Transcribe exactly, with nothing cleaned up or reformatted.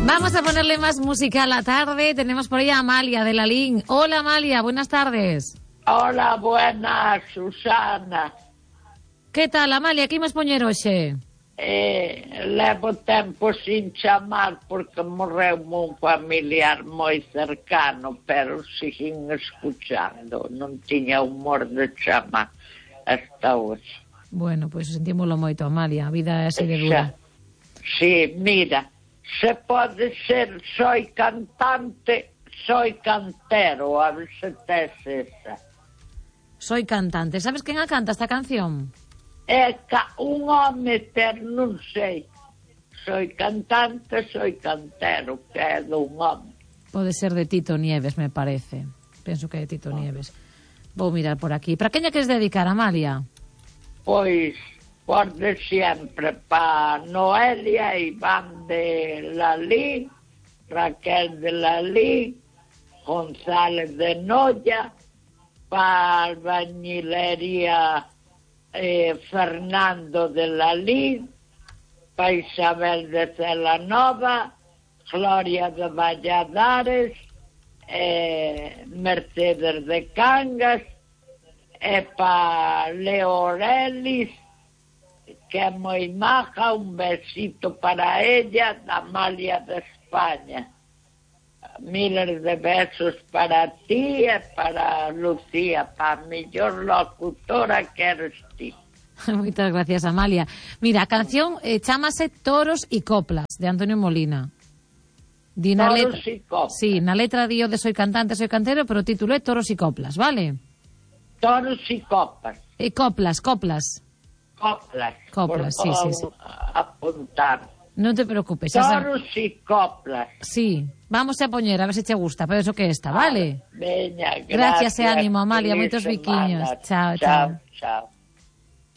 Vamos a ponerle más música a la tarde. Tenemos por ahí a Amalia de Lalín. Hola Amalia, buenas tardes. Hola, buenas, Susana. Que tal, Amalia? Que imos poñer hoxe? Eh, levo tempo sin chamar porque morreu un familiar moi cercano, pero siguen escuchando. Non tiña humor de chamar hasta hoxe. Bueno, pois pues sentímoslo moito, Amalia. A vida é así de dura. Sí, mira, se pode ser soy cantante, soy cantero, a ver se tes esa. Soy cantante. Sabes quen a canta esta canción? É ca un home, pero non sei. Soy cantante, soy cantero, que é dun home. Pode ser de Tito Nieves, me parece. Penso que é de Tito Nieves. Vou mirar por aquí. Para quen lle queres dedicar, Amalia? Pois, por de sempre, pa Noelia, Iván de Lalín, Raquel de Lalín, González de Noia, pa Albañilería eh, Fernando de Lalín, pa Isabel de Celanova, Gloria de Valladares, eh, Mercedes de Cangas, e pa Leo Orelis, que é moi maja, un besito para ella, da Amalia de España. Miles de besos para ti e para Lucía, para a mellor locutora que eres ti. Moitas gracias, Amalia. Mira, a canción eh, chámase Toros y Coplas, de Antonio Molina. Di na Toros letra, y Coplas. Sí, na letra dio de Soy cantante, soy cantero, pero o título é Toros y Coplas, vale? Toros y copas. E coplas, coplas. Coplas. Coplas, sí, sí, sí. Apuntar. Non te preocupes. Esa... Toros y coplas. Sí, vamos a poñer, a ver se te gusta, pero eso que está, vale? Veña, gracias. Gracias e ánimo, Amalia, Feliz moitos semana. biquiños. Chao, chao. chao. Chao.